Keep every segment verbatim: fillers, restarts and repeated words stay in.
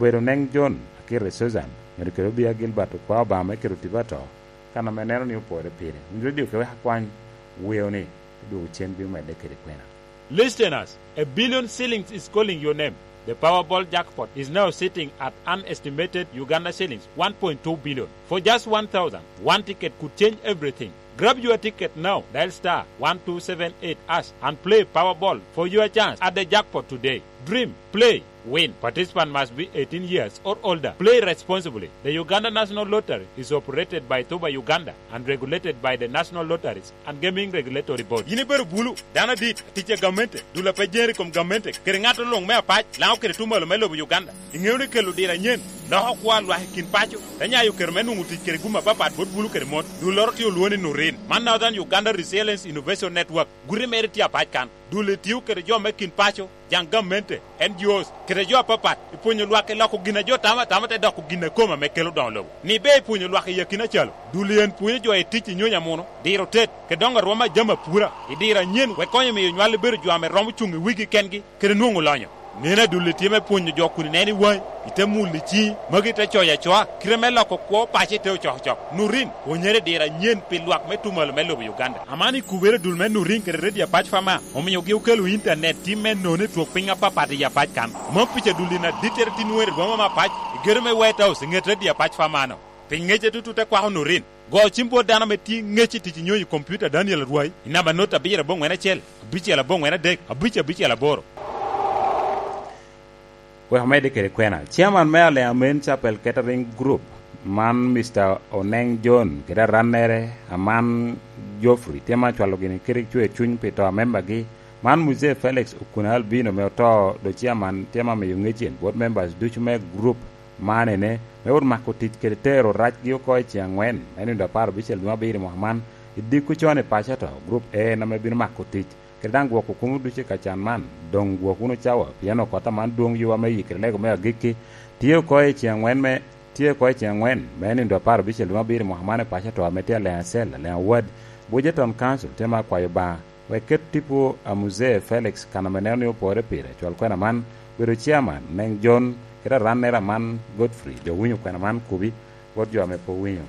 Obedo Neng John, akite Susan, myero kede obia Gilbert okwa Obama me keto tipo ato, kan ame neno ni opore pire. Winy redio ke wek akwany weo ni, idwogo cen bino medde kede kwena. Listeners, a billion shillings is calling your name. The Powerball jackpot is now sitting at an estimated Uganda shillings one point two billion. For just one thousand, one ticket could change everything. Grab your ticket now. Dial star one two seven eight hash and play Powerball for your chance at the jackpot today. Dream, play, win. Participant must be eighteen years or older. Play responsibly. The Uganda National Lottery is operated by Tuba Uganda and regulated by the National Lotteries and Gaming Regulatory Board. Yin ibedo bulu, dano adit, atic a gamente, dul a pe jere i kom gamente, kede ŋat oluŋ me apac, Laŋo kede tumalo me lobo Uganda. Iŋeo ni kelo diro anyen loko kwo a lwak i kin paco, te nyayo kero me nwoŋo tic kede gum apapat bot bulu kede mon. Dulloro tye olwoŋo ni Nurin. Man Northern Uganda Resilience Innovation Network. Guti mere tye apac kan. Dul-li tio kede jo me kin paco, jaŋ gamente, N G Os, kede jo apapat, i pwonyo lwak i loko gin a jo tamo atama te doko gin a kome ame kelo doŋo lobo. Ni be i pwonyo lwak i akina calo, dul-li en pwonyo jo i tic i nyonyo amuno, diro tet, kede doŋo arwom a jami apura, i diro anyen wek konyo miyo nywal bedo jo ame romo cuŋ i wigi kengi, kede nwoŋo lonyo. Neno adulli tye me pwonyo jo kun ineno i waŋi, ite mulo i ciŋi, magi te coyo acoa, kite me loko kwo paco ite ocokocok. Nurin, pwonyere i diro anyen pi lwak me tumalo me lobo Uganda. Aman i kubere dul me Nurin kede Radio Apac Fama, omiogi okelo intanet tim me nono i twok piny apapat i Apac kan. Mom pica dulli na dittere tin nwoŋo i rwoma me Apac, i gedo me White House, i ŋet Radio Apac Fama-no. Pi ŋecce tutu te kwako Nurin. Go cim bot dano ame tye ŋec i tic i nyonyo i kompiuta Daniel Arwai i namba not abiro aboŋwen acel, abicel aboŋwen adek, abic abicel aboro. Wek omedde kede kwena, Chairman me Alea Main Chapel Catering Group, man Mister Oneng John, kede arannere, Aman Geoffrey, tye ma cwalo gini kede cwer cuny pi to a membagi, man Muzee Felix Okuna Albino me oto, do Chairman tye ma miyo ŋec en bot members ducu me group man ene, me wot mako tic kede tero racgi oko i ceŋ angwen, me nino apar abicel dwe me abiro i mwaka man, i dikku con i paco ato, Group A en ame bino mako tic, kede daŋ gwoko komo ducu i kacan man, doŋ gwok wunu cawa, pien okot aman dwoŋ yuwa me yikere lego me agikki, tye oko i ceŋ angwen me, tye oko i ceŋ angwen, me nino apar abicel dwe me abiro i mwaka man i paco ato ame tye Aleng Acel, Aleng Awad, Bujeton Council, tye ma akwayo Obaŋa, wek ket tipo a Muzee Felix kan ame neno ni opore pire, cwal kwena man, bedo Chairman, Neng John, kede arannere Aman Godfrey, jo winyo kwena man kubi, bot jo ame pe owinyo.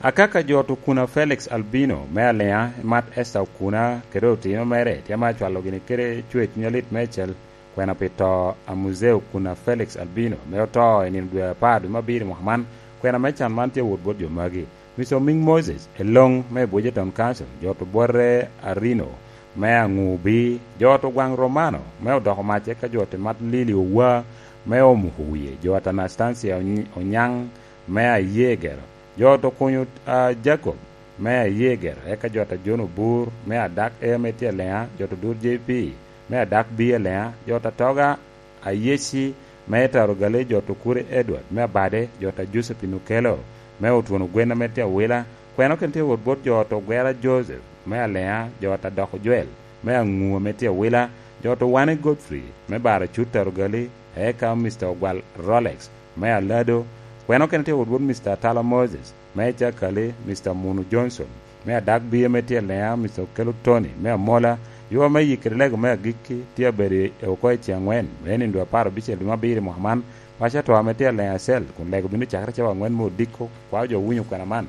Akaka jo to Okuna Felix Albino me Alea, Mat Esther Okuna, kede otino mere, tye ma acwalo gini kede cwer cuny alit meicel, kwena pi to a Muzee Okuna Felix Albino, me oto i nino dwe apar dwe me abiro i mwaka man, kwena me can man tye wot bot jo magi. Mister Oming Moses, Elong me Bujeton Council, jo to Bwote Arino, me Aŋubi, jo to Gwaŋ Romano, me odoko mac eka jo to Mat Lili Owa, me Omuko Wiye, jo to Anastasia Ony-, Onyaŋ, me Ayegero, jo to Kunyo, a, Jacob, me Ayegero, eka jo to John Obur, me Adak Air me tye Alea, jo to Dur J P, me Adak B Alea, jo to Atoga Ayeci, me Taro Gali, jo to Kuri Edward, me Abade, jo to Josephine Okello, me Otwono Gwen ame tye Awila, kwena okene tye wot bot jo to Gwera Joseph, me Alea, jo to Adoko Joel, me Aŋu ame tye Awila, jo to Wane Godfrey, me Baracut Taro Gali, eka Mister Ogwal Rolex, me Alado, kwena okene tye wot bot Mister Atala Moses, me Cakali, Mister Munu Johnson, me Adak B ame tye Alea, Mister Okello Tony, me Amola, yuwa me yikere lego me agikki, tye abedo i oko i ceŋ angwen, me nino dwe apar abicel dwe me abiro i mwaka man, paco atwa ame tye Alea Acel, kun lego bino cakere cawa angwen me odiko, kwao jo winyo kwena man,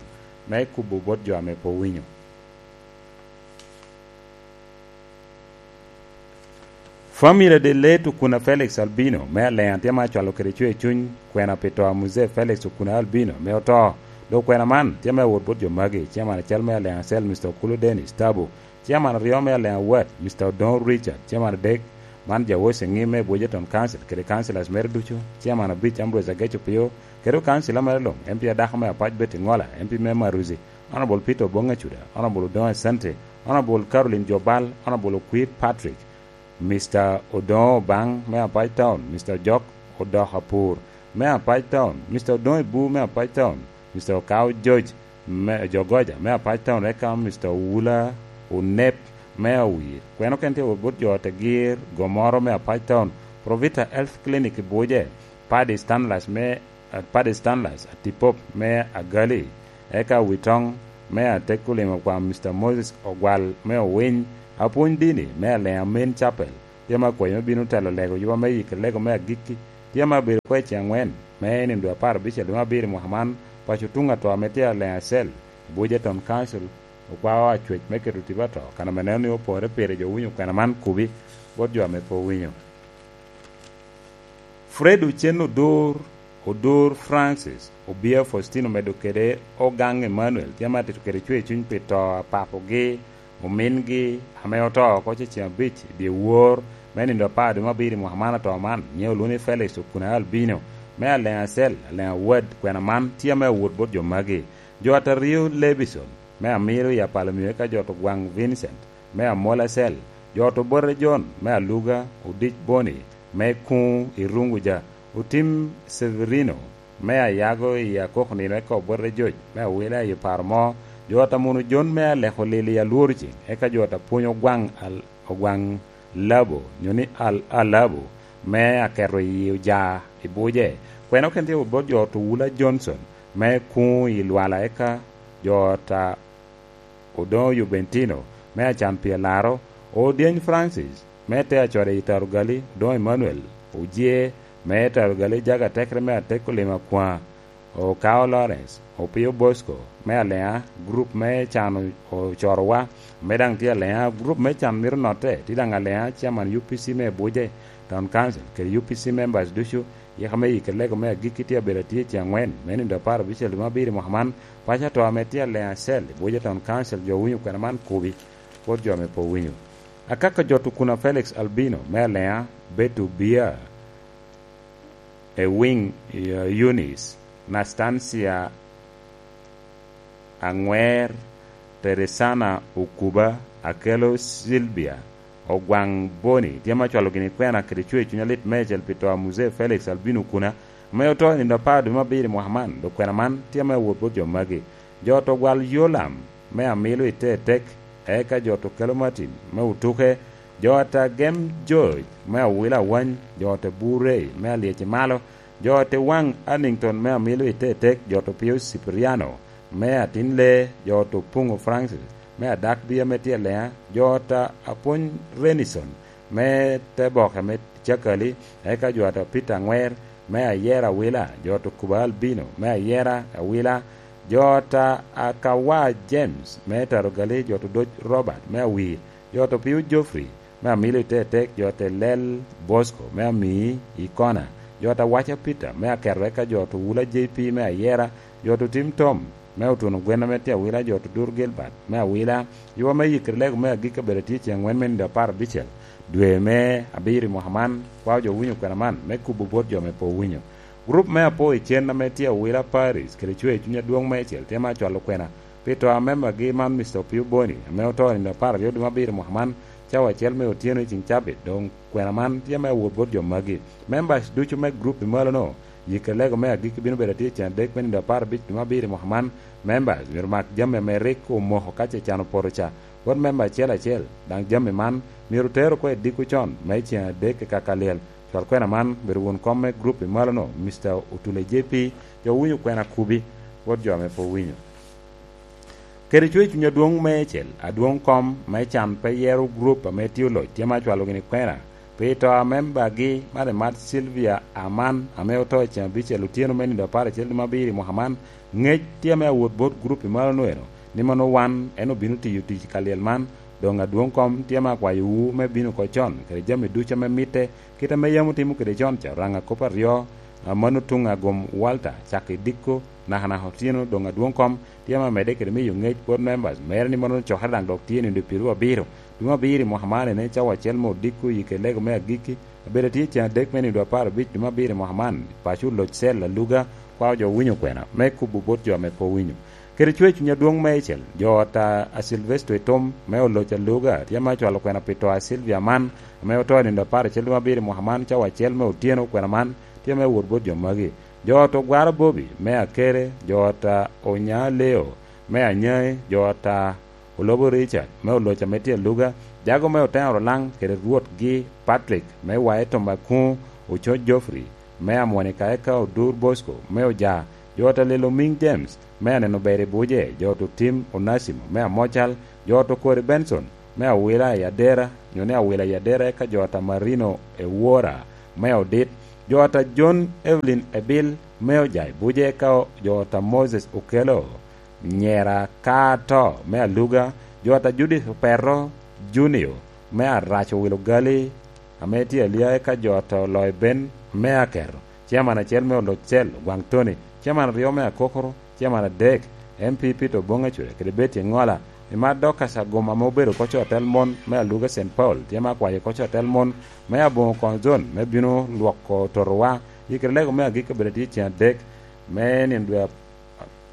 me kubo bot jo ame pe owinyo. Family de late Okuna Felix Albino, me Alea tye ma acwalo kede cwer cuny, kwena pi to a Muzee Felix Okuna Albino, me oto. Dok kwena man tye me awot bot jo magi, Chairman acel me Alea Acel, Mister Okulu Dennis Tabu, Chairman aryo me Alea Awat, Mister Odoŋo Richard, Chairman adek, man Jawoc Eŋim me Bujeton Council, kede councillors mere ducu, Chairman abic Ambrose Agec Opio, kede councillor mere luŋ, M P adako me Apac Betty Ŋola, M P me Maruzi, Honourable Peter Oboŋ Acuda, Honourable Odoŋo Asante, Honourable Caroline Jobal, Honourable Okwir Patrick, Mister Odoŋo Obaŋ me Apac Town, Mister Ojok Odok Apur me Apac Town, Mister Odoŋo Ibu me Apac Town, Mister Okao George me Jogoja me Apac Town, eka Mister Owula Onep me Awir. Kwena okene tye wot bot jo Tegir, Gomoro me Apac Town, Provita Health Clinic i Buje, Paddy Stanlas me, Paddy Stanlas, Atipop me Agali, eka Witong me Atekulimo kwa Mister Moses Ogwal me Owiny, apwony dini me Alea Main Chapel, tye ma akwayo me bino telo lego yuba me yikki lego me agikki, Tye ame abedo oko i ceŋ angwen me nino dwe apar abicel dwe me abiro i mwaka man, paco tuŋ atwa ame tye Aleŋ Acel, Abuja Town Council, okwao acwec me keto tipo atwa, kan ame neno ni opore pire jo winyo kwena man kubi bot jo ame pe owinyo. Fred Ochen Odur, Odur Francis, Obia Faustino medo kede Ogang Emmanuel tye ame atito kede cwer cuny pi to a papogi, omingi, ame oto oko cecen abic i dye wor me nino apar dwe me abiro i mwaka man ato man, nyiŋe olwoŋo ni Felix Okuna Albino, me Aleŋ Acel, Aleŋ Awad, kwena man tye ame awot bot jo magi. Jo ataryo Levison, me Amiro i Apalo Mio eka jo to Gwaŋ Vincent, me Amol Acel, jo to Bote John, me Aluga, Odic Boni, me Kuŋ i Runguja, Otim Severino, me Ayago i Akok Nino eka Obote Joc, me Awila i Paro Mo, jo ta Muno Jon, me Aleko Lili i Alworo Ceŋ, eka jo ta Pwony Ogwaŋ Al-, Ogwaŋ Labo, nyo ni Al-, Alabo, me Aketo i Oja i Buje. Kwena oken tye bot jo to Wula Johnson, me Kuŋ i Lwala, eka jo ta Odoŋo Jubentino, me Acan Pye Laro, Odyeny Francis, me Te Acode i Tarugali, Odoŋo Emmanuel, Ojee, me Tarugali, Jaga Tekre, me Ateko Lima Kwaŋ, Okao Lawrence, Opio Bosco, me Aleŋa, gurup me Can Ocorowa, me daŋ tye Aleŋa, gurup me Can Mito Notte, tye daŋ Aleŋa, Chairman U P C me Buje Town Council, kede U P C members ducu, yeka me yike lego me agikki tye abedo atye i ceŋ angwen, me nino apar abicel dwe me abiro i mwaka man, paco ato ame tye Aleŋ Acel, i Buje Town Council, jo winyo kwena man kubi, bot jo ame pe owinyo. Akaka jo to Okuna Felix Albino, me Aleŋa, Beto Bia, Ewing, eh, Eunice, Nastancia Aŋwer, Teresana Okuba, Akelo Silvia, Ogwaŋ Boni, tye ame acwalo gini kwena kede cwer cuny alit meicel pi to a Muzee Felix Albino Okuna, ame oto i nino apar dwe me abiro i mwaka man, dok kwena man tye ame awot bot jo magi. Jo to Gwal Yolam, me Amilo i Tetek, eka jo to Kelo Martin, me Otuke, jo ta Gem George, me Awila Awany, jo ta Burey, me Alyeci Malo, jo ta Waŋ Annington, me Amilo i Tetek, jo ta Pio Cipriano, me Atin Lee, jo ta Opuŋo Francis, me Adak Bia me tye Leŋa, jo ta Apwony Renison, me te boke me Cakali, eka jo ta Peter Aŋwer, me Ayera Awila, jo ta Okuba Albino, me Ayera Awila, jo ta Akawa James, me Tarugali, jo ta Odoc Robert, me Awir, jo ta Opio Geoffrey, me Amilo i Tetek, jo ta Lel Bosco, me Amii i Kona, jo ta Waca Peter, me Aketo, eka jo ta Wula J P, me Ayera, jo ta Otim Tom, me Otuno Gwen ame tye Awila, jo ta Odur Gilbert, me Awila, ywa me yikere lego me agikki abedo atye ceŋ angwen me nino apar abicel, dwe me abiro i mwaka man, kwao jo winyo kwena man, me kubo bot jo ame pe owinyo. Gurup me Apo i Cen ame tye Awila Paris, kede cwer cuny adwoŋ meicel, tye me acwalo kwena, pi to a membagi man, Mister Opio Boni, ame oto i nino apar aryo dwe me abiro i mwaka man, cawa acel me otyeno i ceŋ cabit, doŋ kwena man tye me awot bot jo magi. Members ducu me gurup i malono, yikere lego me agikki bino bedo atye i ceŋ adek me nino apar abic dwe me abiro i mwaka man. Members myero mak jami ame rik omoko ka ce can opoto ca, bot member acel acel, daŋ jami man myero ter oko i diko con me ceŋ adek i kaka lyel. Cwal kwena man obedo won kom me gurup i malono, Mister Otule J P, jo winyo kwena kubi, bot jo ame pe owinyo. Kede cwer cuny adwoŋ meicel, adwoŋ kom me can pe yero gurup ame tye oloc tye me acwalo gini kwena, pi to a membagi, man emat Sylvia Aman, ame oto i ceŋ abicel otyeno me nino apar acel dwe me abiro i mwaka man. Ŋec tye ame awot bot gurup i malono eno, ni mano wan en obino tiyo tic i ka lyel man, doŋ adwoŋ kom tye ame akwayowu me bino oko con, kede jami ducu ame mitte, kit ame yam otimo kede con ca, Oraŋ akop aryo, a mano tuŋ agom Walter, cak i diko, nakanaka otyeno, doŋ adwoŋ kom tye ame amedde kede miyo ŋec bot members mere ni mano cokere daŋ dok tye nino dwe pyeraryo abiro, dwe me abiro i mwaka man, ene cawa acel me odiko i kelego me agikki, abedo atye ceŋ adek me nino dwe apar abic dwe me abiro i mwaka man, paco oloc cel aluga, kwao jo winyo kwena, me kubo bot jo ame pe owinyo. Kede cwer cuny adwoŋ meicel, jo ot a, a Silvester Etom, me oloc aluga, tye ame acwalo kwena pi to a Sylvia man, ame oto i nino apar acel dwe me abiro i mwaka man, cawa acel me otyeno, kwena man tye me wot bot jo magi. Jo ot Ogwara Bobi, me Akere, jo ot a Onya Leo, me Anyai, jo ot a Olobo Richard, me oloc ame tye aluga, jago me Oteŋo Rolaŋ, kede rwotgi Patrick, me Wae Tomakuŋo, Ococ Geoffrey, me Amonika, eka Odur Bosco, me Oja, jo ot a Lelo Miŋ James, me Aneno Ber i Buje, jo ot Otim Onasimo, me Amocal, jo ot Okori Benson, me Awila i Adera, nyo ni Awila i Adera, eka jo ot a Marino Ewora, me Odit, Jo ata John Evelyn Ebil me Ojai Buje ka jo ata Moses Okelo, nyera ka ato me Aluga, jo ata Judith Operro Junior me Arac Owilo Gali, ame tye Alia eka jo ata Oloyo Ben me Aketo, ciaman acel me Olocel Ogwaŋ Tony, ciaman aryo me Akokoro, ciaman adek, M P Peter Oboŋ Acure kede Betty Eŋola, i mat Dorcas Aguma ame obedo koc atel mon me Aluga Saint Paul, tye me akwayo koc atel mon me Aboŋo Koŋ Zone me bino lwoko totowa. Yikere lego me agikki obedo tye ceŋ adek me nino dwe ap-,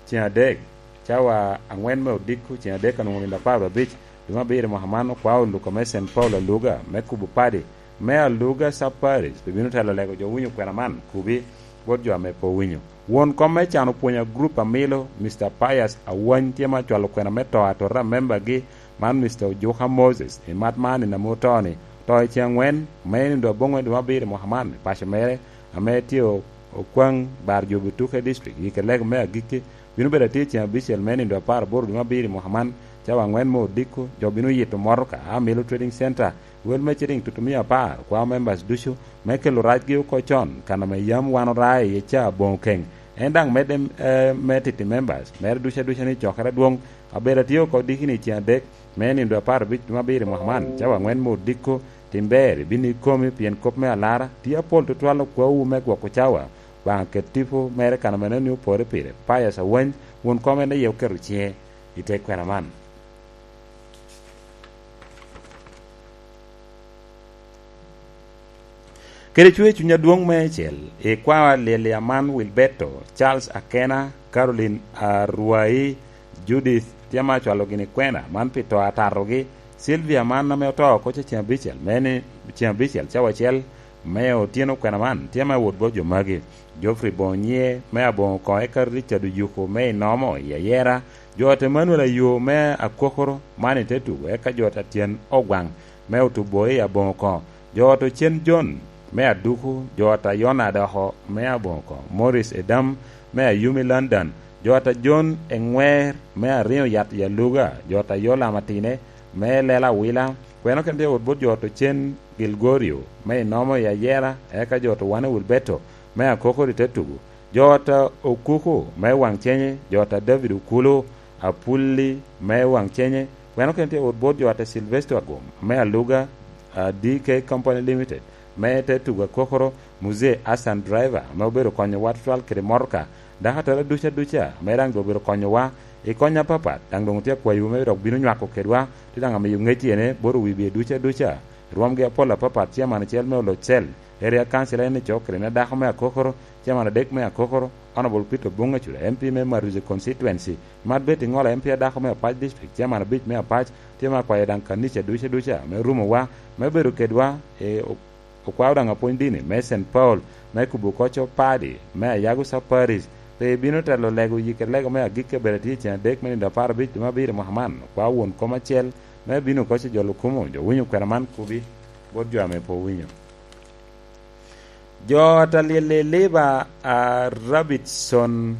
ceŋ adek, cawa aŋwen me odiko, ceŋ adek anwoŋo nino apar abic, dwe me abiro mwaka man, okwao Luka me Saint Paul Aluga me kubo padi me Aluga Sub Parish, pe bino telo lego jo winyo kwena man kubi bot jo ame pe owinyo. Won kom me can opwonyo a gurup a milo, Mister Pius Awany, tye ma cwalo kwena me to atota a membagi, man Mister Ojuka Moses, i mat man i namo to-ni, to i ceŋ aŋwen, me nino dwe aboŋwen dwe me abiro i mwaka man, i paco mere, ame tye o-, Okwaŋ Bar Jobi Tuke District, i Kelego me agikki, bino bedo atye i ceŋ abicel me nino dwe apar aboro dwe me abiro i mwaka man, cawa aŋwen me odiko, jo bino yito motoka, a Milo Trading Center, wel me citiŋ tutumia apar, kwao members ducu, me kelo racgi oko con, kan ame yam wan oraa iye ca aboŋo keŋ. En daŋ medde, eh, me titi members, mere duca duca ni cokere adwoŋ, abedo atye oko dikini i ceŋ adek, me nino dwe apar abic dwe me abiro i mwaka man, cawa aŋwen me odiko, tim ber, ibino ikomi pien kop me alara, tye apol tutwal okwawu me gwoko cawa, Obaŋa ket tipo mere kan ame neni opore pire, Pius Awany, won kom en aye oketo ciŋe i te kwena man. Kede cwer cuny adwoŋ meicel, i kwawa lyel i aman Wilberto, Charles Akena, Caroline Arwai, Judith, tye ma acwalo gini kwena man pi to atatogi, Sylvia man ame oto oko ceŋ abicel, me ni ceŋ abicel cawa acel me otyeno kwena man, tye ma wot bot jo magi, Geoffrey Bonyie me Aboŋo Koŋ, eka Richard Oyuko me Inomo i Ayera, jo ata Emmanuel Ayo me Akokoro man i te tugo, eka jo ata Tyen Ogwaŋ me Otubo i Aboŋo Koŋo, jo ata Ocen John me Aduku, jo ata Yona Adoko me Aboŋo Koŋo, Morris Edam me Ayumi London, jo ata John Eŋwer me Ariŋo Yat i Aluga, jo ata Yolam Atine me Lela Awila, kweno kene tye wot bot jo ata Ocen Gilgorio me Inomo i Ayera, eka jo ata Wane Wilberto me Akokoro i te tugo, jo ata Okuku me Waŋcenye, jo ata David Okulu, Apulli me Waŋcenye, kweno kene tye wot bot jo ata Silvester Agum me Aluga, ah, D K Company Limited, me te tugo Akokoro, Muzee Hassan Driver, ame obedo konyowa tutwal kede motoka, dako atera duca duca, ame daŋ doŋ obedo konyowa i kony apapat, daŋ doŋ otye akwayo me dok bino nywako kedwa, tye daŋ amiyo ŋec ene bot owibie duca duca, rwomgi apol apapat, ciaman acel me Olocel, Area Council en ni cok kede ne dako me Akokoro, ciaman adek me Akokoro, Honorable Peter Obuŋ Acura, M P me Maruzi Constituency, Mat Betty Ŋola, M P adako me Apac District, Chairman abic me Apac, tye ma akwayo daŋ kanica duca duca me rumowa, me bedo kedwa, e, o-, okwao daŋ apwony dini me Saint Paul, me kubo koco padi, me Ayago Sub Parish, pe ibino telo lego yike lego me agikki abedo atye i ceŋ adek me nino apar abic dwe me abiro mwaka man, okwao won kom acel, me bino koco jo lukumo, jo winyo kwena man kubi, bot jo ame pe owinyo. Jo ata lyel i Liba a Rabitson,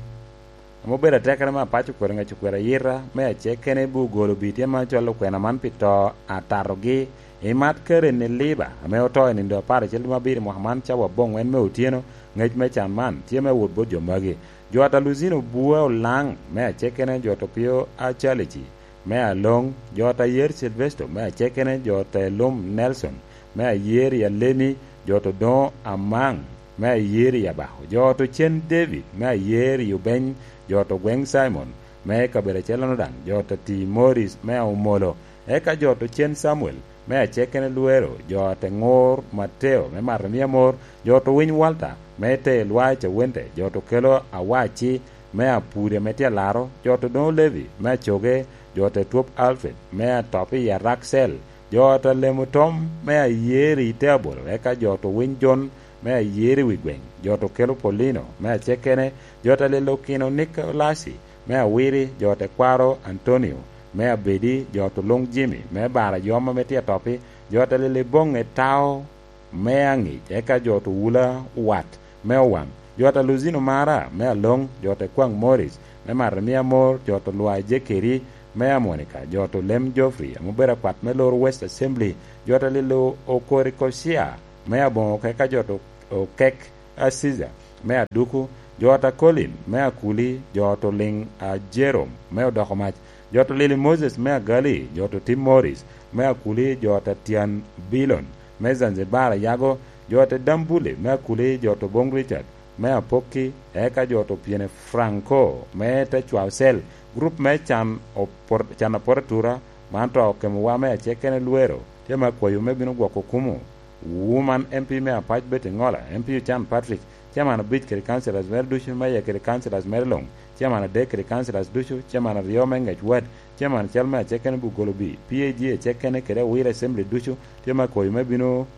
ame obedo atekere me Apac okwero ŋec okwero ayita, me acekene bu ogolo bi tyen ma cwalo kwena man pi to atatogi. I mat Karen i Liba, ame oto i nindo apar acel dwe me abiro i mwaka man, cawa aboŋwen me otyeno, ŋec me can man tye me wot bot jo magi. Jo ata Luzino Bua Olaŋ, me acekene jo ata Opio Acalici, me Aloŋ, jo ata Ayer Silvesto, me acekene jo ata Elum Nelson, me Ayer i Alemi, jo ata Odoŋo Amaŋ, me Ayer i Abako, jo ata Ocen David, me Ayer i Obeny, jo ata Ogweŋ Simon, me kabedo acel-lono daŋ, jo ata Ti Morris, me Aomolo, eka jo ata Ocen Samuel, me acekene Lwero, jo ata Ŋur Mateo, me Mato Mia Mor, jo ata Owiny Walter, me Tee Lwai Cawente, jo ata Okelo Awaci, me Apude, me tye Alaro, jo ata Odoŋo Levi, me Acoge, jo ata Etwop Alfred, me Atop i Araksel, jo ata Lemo Tom, me Ayer i Te Abolo, eka jo ata Owiny Jon, me Ayer i Wi Gweŋ, jo ata Okelo Polino, me acekene, jo ata Lelo Kino Nikolasi, me Awiri, jo ata Kwaro Antonio, me Abedi, jo ata Oluŋ Jimmy, me Bar Ayoma, me tye Atop-pi, jo ata Lelo Iboŋe Tao, me Aŋic, eka jo ata Owula Wat, me Owaŋ, jo ata Luzino Mara, me Aloŋ, jo ata Kwaŋ Morris, me Mato Mia Mor, jo ata Lwai Jekeri, me Amonika, jo ata Olem Geoffrey, ame obedo akwat me loro West Assembly, jo ata Lelo Okori Kocia, me Aboŋo, eka jo ata Okek, Aciza me Aduku, jo ot a Colin me Akuli, jo ot Oliŋ a Jerome me Odokomac, jo ot Lili Moses me Agali, jo ot Tim Morris me Akuli, jo ot Atyan Bilon me Zanzibar Ayago, jo ot Dambule me Akuli, jo ot Oboŋ Richard me Apokki, eka jo ot Opiene Franco me Tecwao Cell, gurup me Can Opor-, Can Apor Atura, man to okemowa me acekene Lwero, tye me akwayo me bino gwoko kumo. Woman M P me Apac Betty Ngola, M P Ocan Patrick, Chairman abic kede councillors mere ducu me aye kede councillors mere luŋ, Chairman adek kede councillors ducu, Chairman aryo me Ngec Ward, Chairman cal me acekene Bugolobi, P A G acekene kede Awila Assembly ducu, tye me akwayo me bino,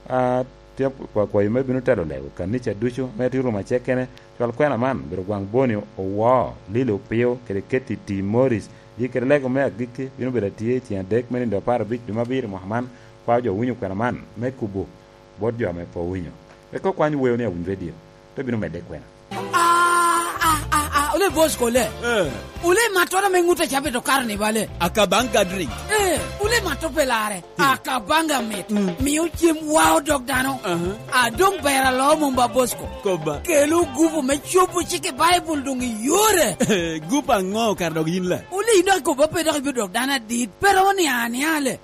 a, tye akwayo me bino telo lego kanica ducu, me tye rumo acekene, cwal kwena man, bedo gwaŋ Boni Owo, Lili Opio, kede Ketty T Morris, yi kede lego me agikki bino bedo atye i ceng adek me nindo apar abic dwe me abiro i mwaka man, Kwa jo winyo kwena man me kubo bot jo ame pe owinyo. Rik okwany weo ni awiny redio, te bino medde kwena. Ah, ah, ah, ah, ole boss kole. Eh. Ole matoro me ŋut a cabe to karo ni bale. Akabanga drink. Eh, ole mato pe lare. Hmm. Akabanga mit. Hmm. Mio cem wao dog dano. Aha. A dong ber alo mumba boss ko. Koba. Kelo gupu me cobo cik i Bible dong i yore. Eh, gupu aŋo kara dog yin le? Ole ino akobo pe dok ibino dok dano adit. Pero ni aniale.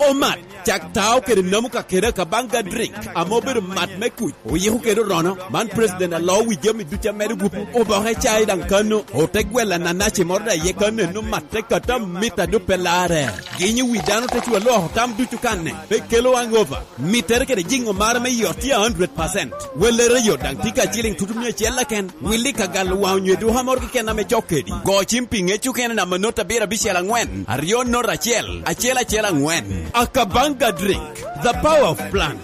Omat, cak tao kede namu ka kede Akabanga drink, ame obedo mat me kuc, oyiko kede orono. Man president alo wi jami ducu amedo gupu, oboke cai daŋ kano, ote gwel ananaci moro daŋ iye kano, eno matte kata mita dupe lare. Ginyo wi dano te cwa loko tam ducu kanne, pe kelo hangover. Mittere kede jiŋo mare me yot tye a hundred percent. Wellere yot daŋ tye ka ciliŋ tutu mia acel keken. Willi ka galo waŋ onyo eduka moro keken ame cok kedi. Go cim pi ŋec okene namba not abiro abicel aŋwen, aryo not acel, acel acel aŋwen. Akabanga drink, the power of plant.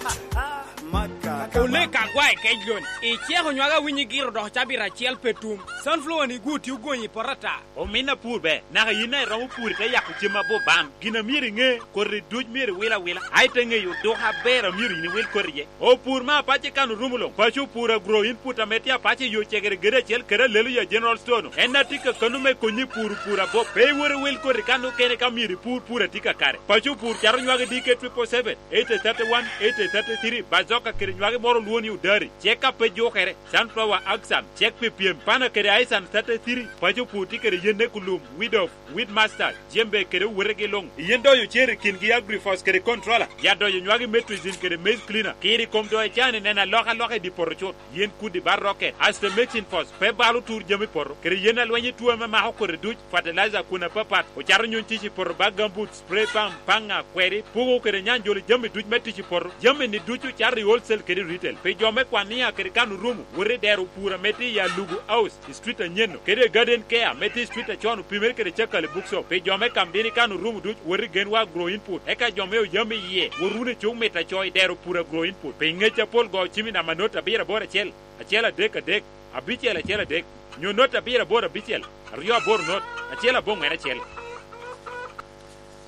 Olek agwa i kec lon. Iceko nywaka winyi giro dok cabit acel pe tum. Sunflower ni gwo tye ogonyi i poto ata. Omin apur ber, naka yin daŋ iromo pur ite yako cem abup bam. Gin a myero iŋe, koti duc myero iwil awila, a ite ŋeyo duka aber a myero yin iwil koti iye. Opur me apac i kan orumo luŋ, paco opur agro input ame tye apac i yo cegere gede acel kede alelo ya General Store-nu. En a tye ka kano me konyi i pur opur abup. Pe iwot iwil koti kan okene ka myero ipur pur a tye kakare. Paco opur cato nywagi D K triple seven, eight thirty-one, eight thirty-three, bazoka kede nywagi moro olwo ni odari, cek a pe jukere, sunflower axan, cek pi pyem, pana kede aisan thirty-three, paco opur tye kede yenne kulum, weed of, weed master, jembe kede owetegi luŋ. Yen doyo cer i kingi agrifos kede controller, ya doyo nywagi metricin kede maize cleaner, kiri kom doyo can i neno alokaloka i di poto cut. Yen kudi barroke, asto mexin fos, pe balo tur jami poto, kede yen alweny i tuo ame mako kodi duc, fertilizer kun apapat, ocato nyuny tic i poto bag gambut, spray pump, paŋa, kweri, pugo kede nyanjolo jami duc me tic i poto. Jami-ni ducu cato i wholesale kede retail. Pi jo me Kwania kede kan orumo, wot i dero pur ame tye i Alugu House, i street anyen-nu, kede i Garden Care ame tye i street acon opimere kede Cakali Bookshop. Pi jo me Kamdini kan orumo duc, wot i Genwa Agro Input. Eka jo me Oyami iye, wot wunu i cuk mit aco i dero pur Agro Input. Pi ŋec apol go cim i namba not abiro aboro acel, acel adek adek, abicel acel adek, nyo not abiro aboro abicel, aryo aboro not, acel aboŋwen acel.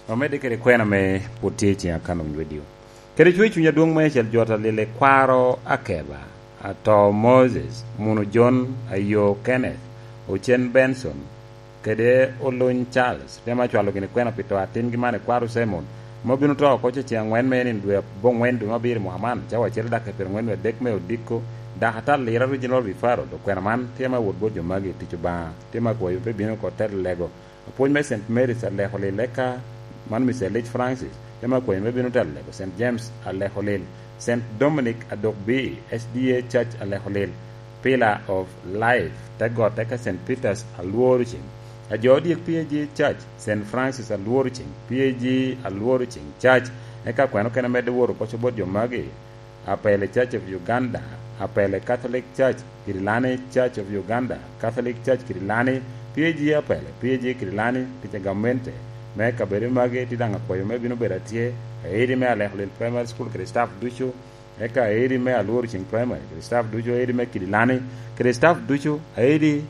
Omedde kede kwena me pwod tye i ciŋ akano winyo redio. Kede cwer cuny adwoŋ me acel jot alil i kwaro Akeba, ato Moses, muno John, ayo Kenneth, ocen Benson, kede oluny Charles, temo acwalo gini kwena pi to atingi man i kwaro Simon, ma obino to oko ce ciŋ aŋwen me nino dwe aboŋwen dwe me abiro i mwaka man, cawa acel dakica pyerangwen wie adek me odiko, dak atal lira Regional Referral, dok kwena man tye me wot bot jo magi i tic Obaŋa, tye me akwayo pe bino oko telo lego. Apwony me Saint Mary's Alekolil, eka man Mister Leach Francis, tye me akwayo me bino telo lego. Saint James Alekolil, Saint Dominic Adok B, S D A Church Alekolil, Pillar of Life, te got, eka Saint Peter's Alworo Ceng. Ajo odyek P A G Church, Saint Francis Alworo Ceng, P A G Alworo Ceng Church, eka kweno kene medde woro koco bot jo magi. Apele Church of Uganda, Apele Catholic Church, Kirilani Church of Uganda, Catholic Church Kirilani, P A G Apele, P A G Kirilani, tic a gamente me kabedo magi tye daŋ akwayo me bino bedo atye, aidi me Alekolil Primary School kede staff ducu, eka aidi me Alworo Ceng Primary kede staff ducu, aidi me Kirilani kede staff ducu, aidi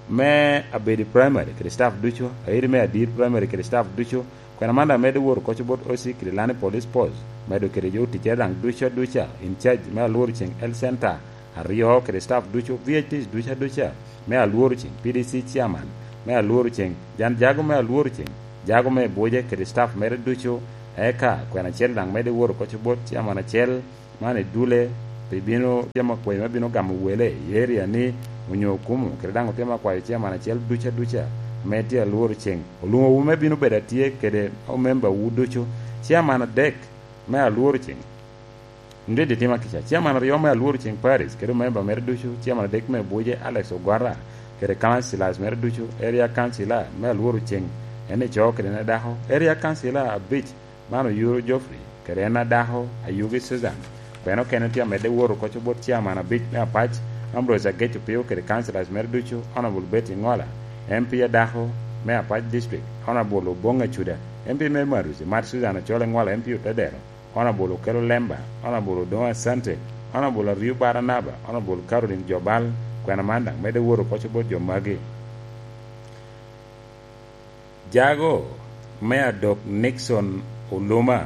me Abedi Primary kede staff ducu, aidi me Adir Primary kede staff ducu, Kwena man daŋ medde woro koco bot O C Kirilani Police Post, medo kede jo ticere daŋ ducu aduca, in charge me Alworo Ceng Health Center aryo kede staff ducu, V I Ps ducu aduca me Alworo Ceng, P D C chairman me Alworo Ceng, jan jago me Alworo Ceng, jago me Buje kede staff mere ducu, eka kwena acel daŋ medde woro koco bot chairman acel, man i dule pi bino tye ma kwayo me bino gamo wele i area ni onyo Okumu, kede daŋ otye ma kwayo chairman acel duca duca ame tye alworo ceng. Olwoŋowu me bino bedo atye kede omembawu ducu, chairman adek me alworo ceng. Ndidi tima kica, chairman aryo me alworo ceng Paris, kede omemba mere ducu, chairman adek me Buje Alex Ogwara, kede councillors mere ducu, area councillor me alworo ceng, en ico kede en adako, area councillor abic, man Oyuro Geoffrey, kede en adako, Ayugi Susan. Kwena okene tye amedde woro koco bot chairman abic me Apac, Ambrose Agec Opio, kede councillors mere ducu, Honorable Betty Ngola, M P adako me Apac District, Honorable Obong Acuda, M P me Marusi, Mat Susan Ocol Engola, M P Otedero, Honorable Okello Lemba, Honorable Odongo Asante, Honorable Ario Baranaba, Honorable Caroline Jobal, kwena man daŋ medde woro koco bot jo magi. Jago me adok Nixon Oluma,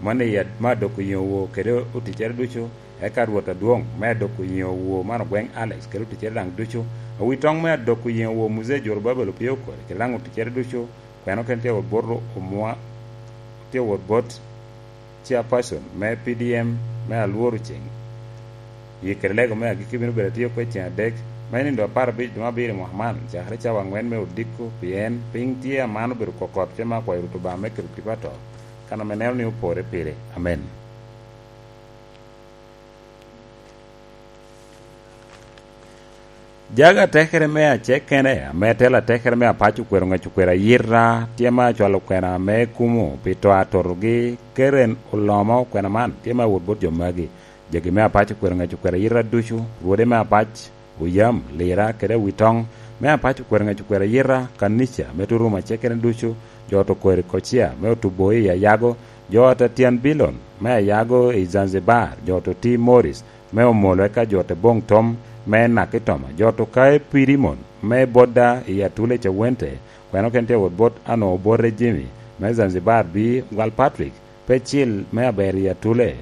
man i ad-, me adok Oyeŋo Woo kede oticcere ducu, eka Rwot adwoŋ me adok Oyeŋo Woo man ogweŋ Alex kede oticcere daŋ ducu, awitoŋ me adok Oyeŋo Woo Muzee Jorobabel Opio Okori kede daŋ oticcere ducu, kwena okene tye wot bot Omwa-, tye wot bot chairperson me P D M me alworo ceng. Yikkere lego me agikki bino bedo atye oko i ceng adek, ma i nino apar abic dwe me abiro i mwaka man, cakere cawa aŋwen me odiko, pien piny tye aman obedo kokot, te ma akwayo Rwot Obaŋa me keto tipo ato, kan ame neno ni opore pire. Amen. Jago atekere me acekene, ame telo atekere me Apac okwero ŋec okwero ayita, tye ma acwalo kwena me kumo pi to atotogi, Karen Olomo, kwena man tye ma wot bot jo magi. Jagi me Apac okwero ŋec okwero ayita ducu, rwode me Apac, Oyam, Lira, kede Awitoŋ, me Apac okwero ŋec okwero ayita, kanica me Turum acekene ducu, jo ot Okweri Kocia, me Otubo i Ayago, jo ot Atyan Bilon, me Ayago i Zanzibar, jo ot Oti Morris, me Omolo, eka jo ot Boŋ Tom, me Nakitoma, jo ot Okae Pirimon, me Bodda i Atule Cawente, kwena okene tye wot bot Ano Obote Jimmy, me Zanzibar, bi Gwal Patrick, Pecil me Aber i Atule,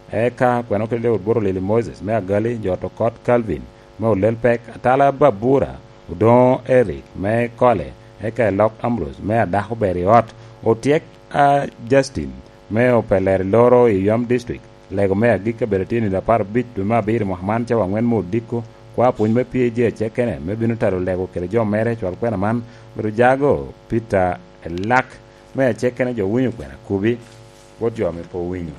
eka kwena okene tye wot bot Olili Moses, me Agali, jo ot Okot Calvin, me Olel Pek, Atala Babura, Odoŋo Eric, me Kole, eka Elok Ambrose, me Adako Ber i Ot, Otyek a Justin, me Opeler i Loro i Yom District, lego me agikki abedo tye nino apar abic dwe me abiro mwaka man cawa aŋwen me odiko, kwa pwony me P A G acekene me bino talo lego kede jo mere cwal kwena man, bedo jago Peter Elak me acekene jo winyo kwena kubi, bot jo ame pe owinyo.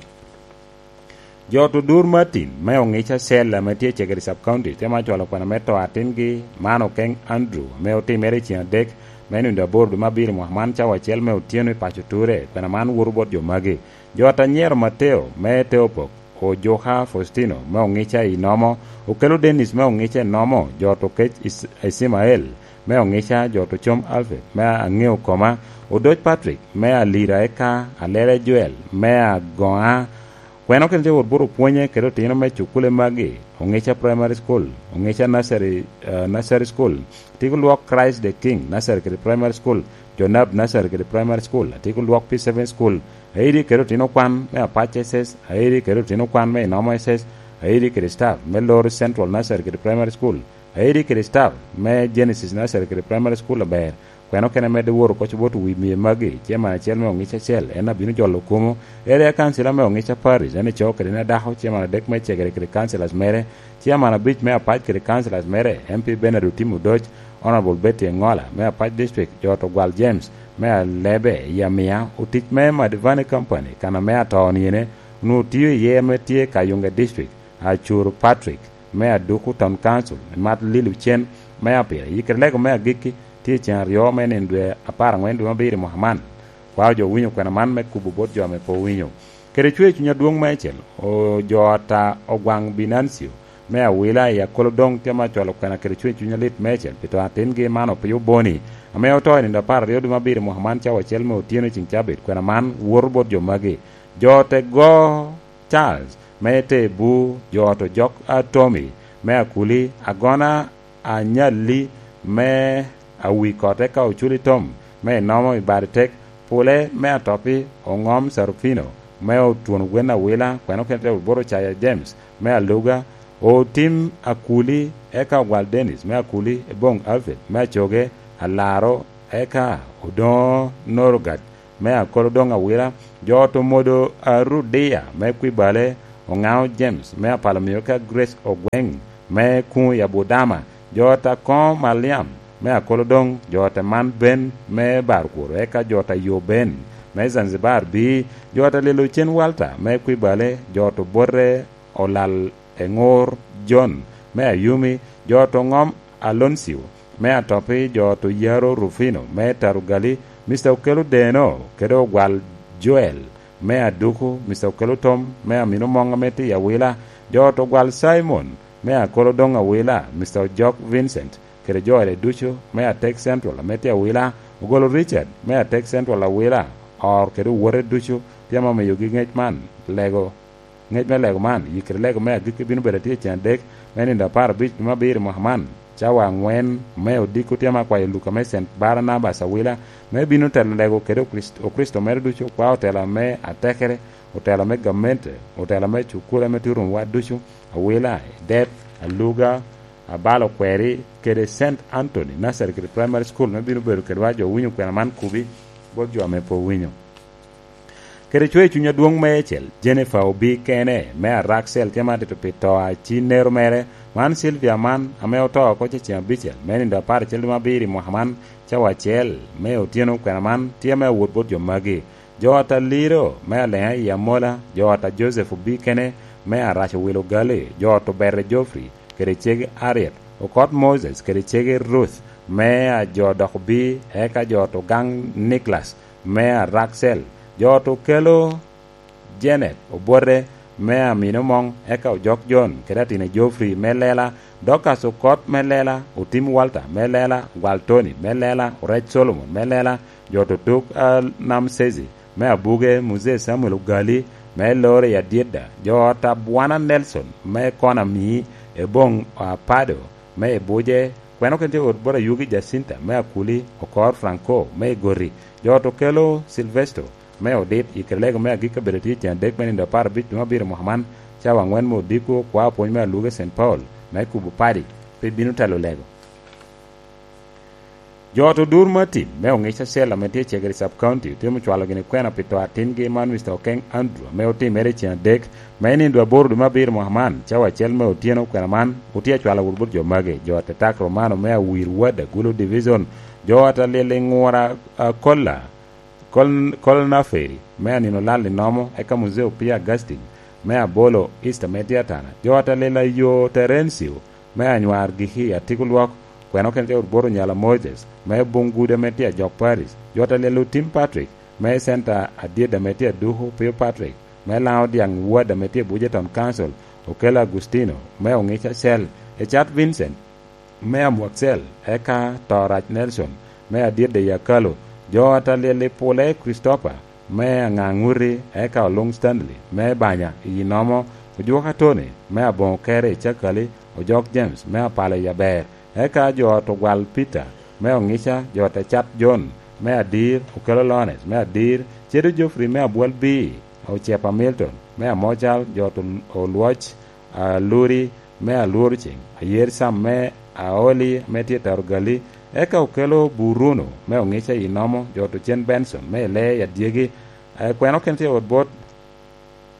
Jo ot Odur Martin me Oŋica Cell ame tye i Cegere Sub County, tye ma cwalo kwena me to atingi man Okeng Andrew, ame otimere i ceng adek me nino aboro dwe me abiro mwaka man cawa acel me otyeno i paco Ture, kwena man woto bot jo magi. Jo ot Anyero Mateo me Teopok, Ojuka Faustino me Oŋica i Nomo, Okelo Dennis me Oŋica i Nomo, jo ot Okec Is-, Ismael me Oŋica, jo ot Ocom Alfred me Aŋeo Koma, Odoc Patrick me Alira, eka Alele Joel me Agoŋa. Kwena okene tye wot bot opwonye kede otino me cukule magi, Oŋica Primary School, Oŋica Nursery, eh, Nursery School, Atiko Lwok Christ the King Nursery kede Primary School, Jonab Nursery kede Primary School, Atiko Lwok P seven School, Aidi kede otino kwan me Apac S S, Aidi kede otino kwan me Inomo S S, Aidi kede staff me Lori Central Nursery kede Primary School, Aidi kede staff me Genesis Nursery kede Primary School aber. Kwena okene medde woro koc bot wi mie magi, chairman acel me Oŋica Cell, en abino jolo kumo. Area councilor me Oŋica Parish, en ico kede en adako, chairman adek me Cegere kede councilors mere, chairman abic me Apac kede councilors mere, M P Bernard Otim Odoc, Honorable Betty Engola me Apac District, jo ot Ogwal James me Alebe i Amia, otic me Madivani Company, kan ame atoni ene, onwoŋo tio iye ame tye Kayunga District, Acuru Patrick me Aduku Town Council, Mat Lil Ocen me Apira. Yikkere lego me agikki tye i ceng aryo me nino dwe apar aŋwen dwe me abiro i mwaka man. Kwao jo owinyo kwena man me kubo bot jo ame pe owinyo. Kede cwer cuny adwoŋ meicel, o, jo ata Ogwaŋ Binancio me Awila i Akolodoŋ tye ma cwalo kwena kede cwer cuny alit meicel pi to atingi man Opio Boni, ame oto i nino apar aryo dwe me abiro i mwaka man cawa acel me otyeno i ceng cabit. Kwena man woto bot jo magi. Jo ata Go Charles me Tebu, jo ot Ojok Atomi me Akuli, Agona Anyalli me Awikot, eka Oculi Tom me Inomo i Badi Tek, Pule me Atopi, Oŋom Sarufino me Otwon Gwen Awila, kwena okene tye wot bot Ocaya James me Aluga, Otim Akuli, eka Ogwal Dennis me Akuli, Eboŋ Alfred me Acoge, Alaro, eka Odoŋo Norogat me Akolodoŋ Awila, jo ot Omodo Arudia me Kwibale, Oŋao James me Apalo Miyo, eka Grace Ogweŋ me kuŋ i Abudama, jo ot a Koŋo Maliam me Akolodoŋ, jo ot a Man Ben me Barkwor, eka jo ot a Yo Ben me Zanzibar Bii, jo ot a Lelo Cen Walter me Kwibale, jo ot Obote Olal Eŋur John me Ayumi, jo ot Oŋom Aloncio me Atopi, jo ot Oyaro Rufino me Tarugali, Mister Okelo Deno kede Ogwal Joel me Aduku, Mister Okelo Tom me Amino Moŋ ame tye i Awila, jo ot Ogwal Simon me Akolodoŋ Awila, Mister Ojok Vincent kede jo ode ducu me Atek Central ame tye i Awila, Ogolo Richard me Atek Central Awila, Or kede owote ducu. Tye ame omiyogi ŋec man, lego, ŋec me lego man, i kede lego me agikki bino bedo atye i cen adek me nino apar abic dwe me abiro i mwaka man, cawa aŋwen me odiko. Tye ame akwayo Luka me Saint Barnabas Awila me bino telo lego kede Okrist-, Okricito mere ducu, kwa otela me atekere, otela me gamente, otela me cukule ame tye Rumwa ducu, Awila, Edep, Aluga, Abalo Kweri, kede Saint Anthony Nursery kede Primary School me bino bedo kedwa jo winyo kwena man kubi bot jo ame pe owinyo. Kede cwer cuny adwoŋ meicel, Jennifer Obii kene, me Araksel, tye ma atito pi to a ci nero mere. Man Sylvia man, ame oto oko cecen abicel, me nino apar acel dwe me abiro i mwaka man, cawa acel me otyeno kwena man, tye me awot bot jo magi. Jo ot a Liro, me Aleŋa i Amola, jo ot a Joseph Obii kene, me Arac Owilo Gali, jo ot Obere Geoffrey, kede cege Ariet, okot Moses, kede cege Ruth, me a jo dok Obii, eka jo ot Ogaŋ Nicholas, me Araksel, jo ot Okelo Janet Obote, me Amino Moŋ, eka Ojok John, kede atine Geoffrey, me Lela, Dorcas Okot, me Lela, Otim Walter, me Lela, Gwal Tony, me Lela, Orec Solomon, me Lela, jo ot Otuk, a, Nam Sezi, me Abuge, Muzee Samuel Ogali, me Lore i Adyedda, jo ot Abwana Nelson, me Kona Mii, Eboŋ Apado, me Ibuje, kweno kene tye ot bot Ayugi Jacinta, me Akuli, Okor Franco, me Igoti, jo ot Okelo Silvesto, me Odit, i kede lego me agikki abedo tye i cen adek me nino apar abic dwe me abiro mwaka man, cawa aŋwen me odiko, kwa pwony me Aluge Saint Paul, me kubo padi, pe bino telo lego. Jo ot Odur Martin, me Oŋic Acel ame tye i Cegere Sub County, otye ocwalo gini kwena pi to atingi man, Mister Okeng Andrew, ame otimere i cen adek, me nino aboro dwe me abiro mwaka man, cawa acel me otyeno. Kwena man otye acwalo wot bot jo magi: jo ot Etak Romano, me Awir Wad, Agulu Division, jo ot Alyel i Ŋura, a, Kolla, Kol-, Kolnaferi, me Anino Lal i Nomo, eka Muzee Opia Augustine, me Abolo East, ame tye Atana, jo ot Alyel a Yo Terencio, me Anywar Giki, Atiko Lwok, kweno kene tye ot bot Onyala Moses, me Bungude, ame tye Ajok Parish, jo ot Alyel Otim Patrick, me Center Adyedda, ame tye Aduku Pio Patrick, me Laŋo Dyaŋ Ward, ame tye Bujeton Council, Okelo Agustino, me Oŋic Acel, Ecat Vincent, me Amwakcel, eka Torac Nelson, me Adyedda i Akalo, jo ot Alyel i Pule Christopher, me Aŋaŋuti, eka Oluŋ Stanley, me Banya i Nomo, Ojuka Tony, me Aboŋo Kere i Cakali, Ojok James, me Apala i Aber, eka jo ot Ogwal Peter, me Oŋica, jo ot Ecat John, me Adir, Okelo Lawrence, me Adir, Cedo Geoffrey, me Abwal Bii, Ocepa Milton, me Amocal, jo ot Ol-, Olwoc, Aluri, me Alworo Ceŋ, Ayer Sam, me Aoli, ame tye i Tarugali, eka Okelo Buruno, me Oŋica i Nomo, jo ot Ocen Benson, me Ilee i Adyegi, eh, kweno kene tye ot bot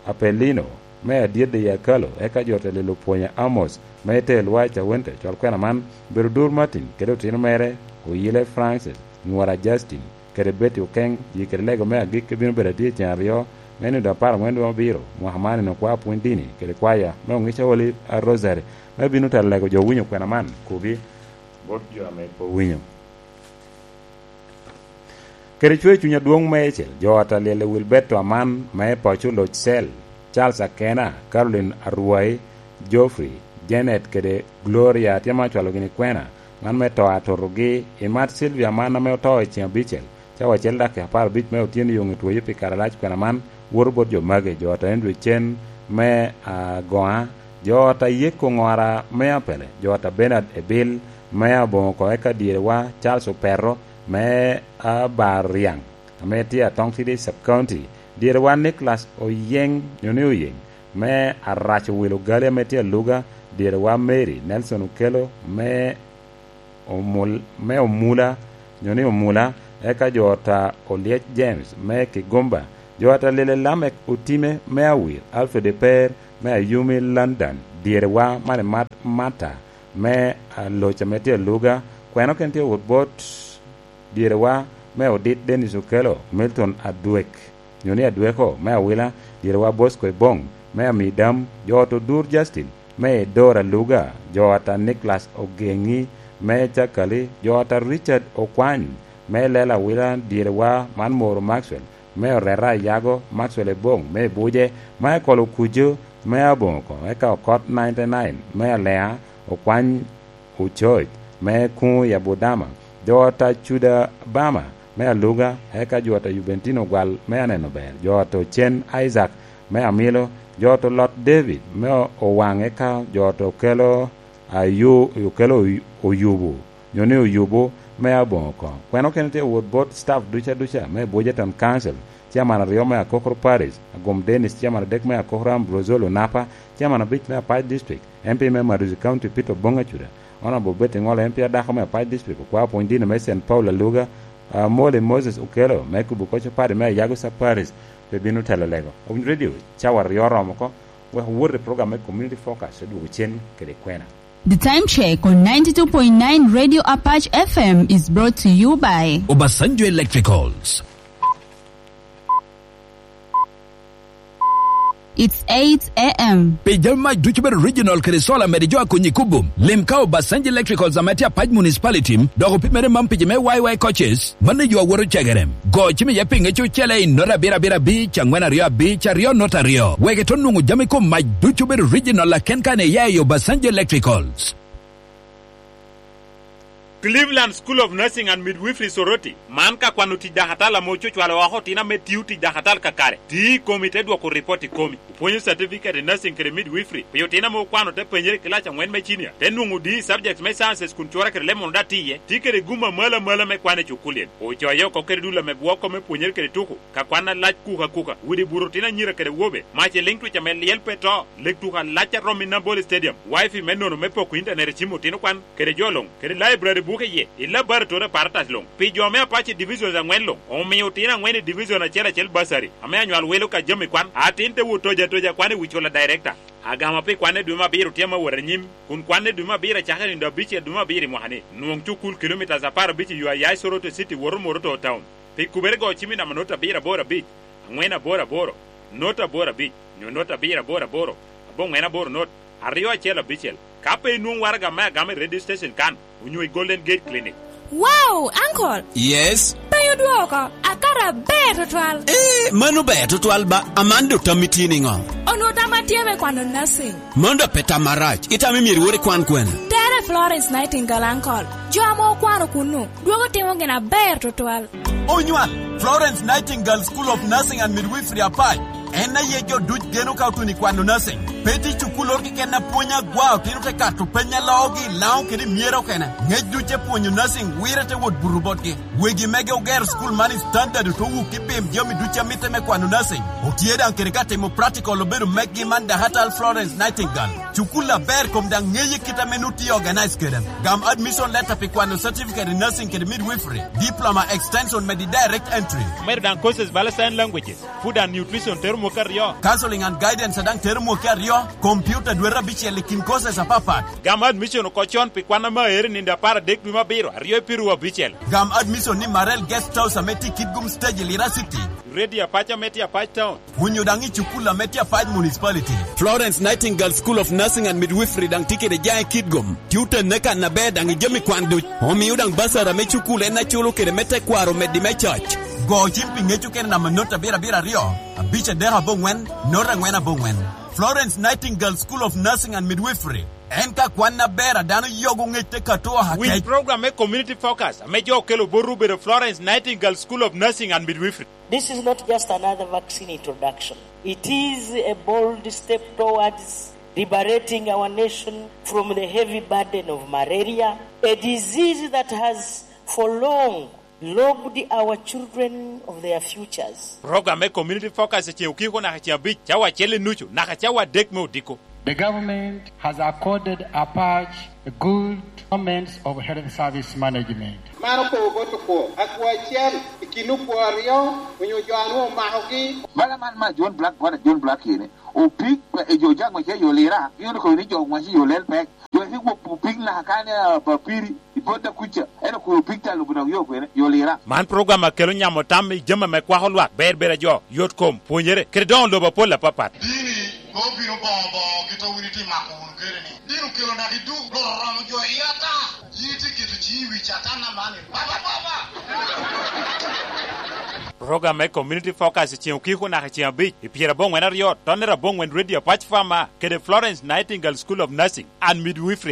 Apelino, me Adyedde i Akalo, eka jo ot Alyel Opwonya Amos, me Ite Lwai Cawente, cwal kwena man, Bedo Dur Martin, kede otino mere, Oyile Francis, Nywora Justin, kede Betty Okeng, yi kede lego me agikki bino bedo atye i cen aryo, me nino apar aŋwen dwe me abiro, mwaka man, nino kwa pwony dini, kede kwaya, me Oŋica Holy Rosary, me bino telo lego jo winyo kwena man, kubi, bot jo ame pe owinyo. Kede cwer cuny adwoŋ meicel, jo ot Alyel i Wilberto Aman, me Paco Loc Cel, Charles Akena, Caroline Arwai, Geoffrey, Janet kede Gloria tye ma ocwalo gini kwena, man me to atotogi, i mat Sylvia man ame oto i cen abicel, cawa acel dakika apar abic me otyeno yoŋ etwoyo pi kare alac. Kwena man woto bot jo magi, jo ot Andrew Cen me Agoŋa, jo ot Ayeko Ŋora me Apele, jo ot Bernard Ebil me Aboŋo oko, eka dyerewa Charles Opeto me Abariaŋ, ame tye Atong City Sub County, dyerewa Nicholas Oyeŋ, nyo ni Oyeŋ, me Arac Owil Ogali, ame tye Aluga, dyerewa Mary Nelson Okelo, me Omul-, me Omula, nyo ni Omula, eka jo ot a Olyec James, me Kigomba, jo ot Alyel Lamek Otime, me Awir, Alfred Eper, me Ayumi London, dyerewa Mani Mat-, Mata me, ah, loc ame tye aluga, kweno ken tye wot bot dyerewa me Odit Dennis Okello, Milton Adwek, nyo ni Adweko me Awila, dyerewa Bosco Ebong me Amidam, jo ot Odur Justin me Edor Aluga, jo ata Nicholas Ogengi me Cakali, jo ata Richard Okwany me Lela Awila, dyerewa man Moro Maxwell me Oreta Ayago, Maxwell Ebong me Ebuje, Michael Okujo me Aboŋo oko, eka Okot ninety nine me Alea, Okwany Ococ me Kuŋ i Abudama, jo ata Cuda Bama me Aluga, eka jo ata Jubentino Gwal me Aneno Ber, jo ata Ocen Isaac me Amilo, jo ata Olot David me Owaŋ, eka jo ata Okelo Ayu-, Okelo Oy-, Oyubu, nyo ni Oyubu me Aboŋo oko. Kweno kene tye wot bot staff duca duca me Buja Town Council, chairman aryo me Akokoro Parish, Agum Dennis, chairman adek me Akokoro Ambrose Olunapa, chairman abic me Apac District, M P me Maduzi County Peter Oboŋ Acuda, Honorable Betty Ŋolo, M P adako me Apac District, okwao pwony dini me Saint Paul Aluga, ah, Molly Moses Okello me Kubu Koco Party me Ayago Sub Parish pe bino telo lego. Owiny Radio, cawa aryo oromo oko, wek owot i program me Community Focus, odwogo cen kede kwena. The time check on ninety-two point nine Radio Apache F M is brought to you by Obasanjo Electricals. It's eight a m. Pi jami mac ducu bedo original kede solar mede jo a Konyi Kubum, lim ka Obasanjo Electricals ame tye Apac Municipality, dok opimere man pi jo me Y Y coaches, mano jo a woto cegere. Go cim iye pinge cucele i nota abiro abiro abic, angwen aryo abic, aryo nota aryo. Wek ito nwoŋo jami kom mac ducu bedo original aken kan iya i Obasanjo Electricals. Cleveland School of Nursing and Midwifery Soroti, man ka kwano tic dakatal ame ococwalo oko otino ame tio tic dakatal kakare, tio i komi te dwoko ripot i komi. Opwonyo certificate i nursing kede midwifery pi otino ame okwano te penyere i kilac angwen me cinia, te nwoŋo D E subjects me sciences kun cure kede leb mono daŋ tye iye, tye kede gum amalo amalo me kwan i cukul-li. Ocoyo oko kede dul ame gwoko me pwonyere kede tuko, ka kwan alac kuka kuka, udi buto otino anyira kede wobe, mac i liŋ twic ame lyel pe to, leg tuko alac a romo i Nambole Stadium, wifi me nono me poko intanet i cim otino kwan, kede jo luŋ, kede library buke iye, i laboratory apparatus luŋ. Pi jo me Apache Divisions angwen luŋ, omio otino angwen i division acel acel bursary, ame anywal welo ka jami kwan, atin te wot tojo atoja kwan i wi cula director. Agama pi kwan i dwe me abiro tye ame wot anyim, kun kwan i dwe me abiro acakere i nino abicel dwe me abiro i mwaka-ni. Nwoŋ cukul kilomitas apar abic i yo a ya i Soroti City woto Moroto Town. Pi kubere go cim i namba not abiro aboro abic, angwen aboro aboro, not aboro abic, nyo not abiro aboro aboro, aboŋwen aboro not, aryo acel abicel. Ka pe inwoŋo waraga me agama i radio station kan, onyo i Golden Gate Clinic. Wow, Uncle! Yes? Pe odwoko, akato aber tutwal. Eh, mano ber tutwal ba, aman do tammi tye niŋo? Onwo tamma tye me kwano nursing. Mano do pe tam marac, itamo myero iwot ikwan kwene? Tere Florence Nightingale, Uncle. Jo ame okwano kunnu, dwogo timo gin aber tutwal. Onywal, Florence Nightingale School of Nursing and Midwifery Apac. En aye jo duc geno ka otuno i kwano nursing. Pe tye cukul oro keken a pwony agwa otino te kato peny a loogi i Laŋo kede i Myero okene. Ngec duc te pwonyo nursing wire te wot buto botgi. Wegi mege ogero cukul man i standard oto wuk i pim jami duc a mitte me kwano nursing. Otye daŋ kede ka timo practical obedo meggi man Dakatal Florence Nightingale. Cukul aber kom daŋ ŋeye kit ame nut tye organize kede. Gam admission letter pi kwano certificate in nursing kede midwifery, diploma extension medi direct entry. Medo daŋ courses bala sign languages, food and nutrition tero mwaka aryo. Counseling and guidance daŋ tero mwaka aryo, computer dwete abicel i kin courses apapat. Gam admission oko con pi kwan ame aero i nino apar adek dwe me abiro, aryo i piru abicel. Gam admission ni Marel Guest House ame tye i Kitgum Stage i Lira City. Radio Apac ame tye Apac Town. Onyo daŋ i cukul ame tye Apac Municipality. Florence Nightingale School of Nursing and Midwifery daŋ tye kede jaŋ i Kitgum. Tye otenne kan aber daŋ i jami kwan duc. Omio daŋ basara me cukul en aculo kede me tekwaro meddi me coc. Go cim pi ŋec okene namba not abiro abiro aryo, abic adek aboŋwen, not angwen aboŋwen. Florence Nightingale School of Nursing and Midwifery. En ka kwan aber a dano yogo ŋec te kato akec. With program me community focus, ame jo okelo botwu obedo Florence Nightingale School of Nursing and Midwifery. This is not just another vaccine introduction. It is a bold step towards liberating our nation from the heavy burden of malaria, a disease that has for long robbed our children of their futures. Program me community focus ceŋ okiko naka ceŋ abic, cawa acel i nucu, naka cawa adek me odiko. The government has accorded Apac a good performance of health service management. Man okobo bot okwo, akwo acel i kin okwo aryo onyo jo a nwoŋo omakogi. Bala man ma John Black, bwana John Black kene, opik, e, jo jaŋ wace yo lira, gin okobo ni jo wace yo lel pek. Jo ki gwok opik naka kane, a, papiri, i bot da kuca, en okobo opik ta lubo dok yo kwene, yo lira. Man program a kelo nyamo tam i jami ame kwako lwak, ber ber a jo, yot kom, pwonyere, kede doŋo lobo apol apapat. Dini, mom bino boŋo boŋo kit a wun itye mako wunu kede ni. Dini okelo naka i duk, loro romo jo i ata. Yin itye keto ciŋi i wi Catan aman, baba, baba. Program me Community Focus i ceŋ okiko naka i ceŋ abic, i pyerabongwen aryo, tonnere abongwen Radio Apac Farmer, kede Florence Nightingale School of Nursing and Midwifery.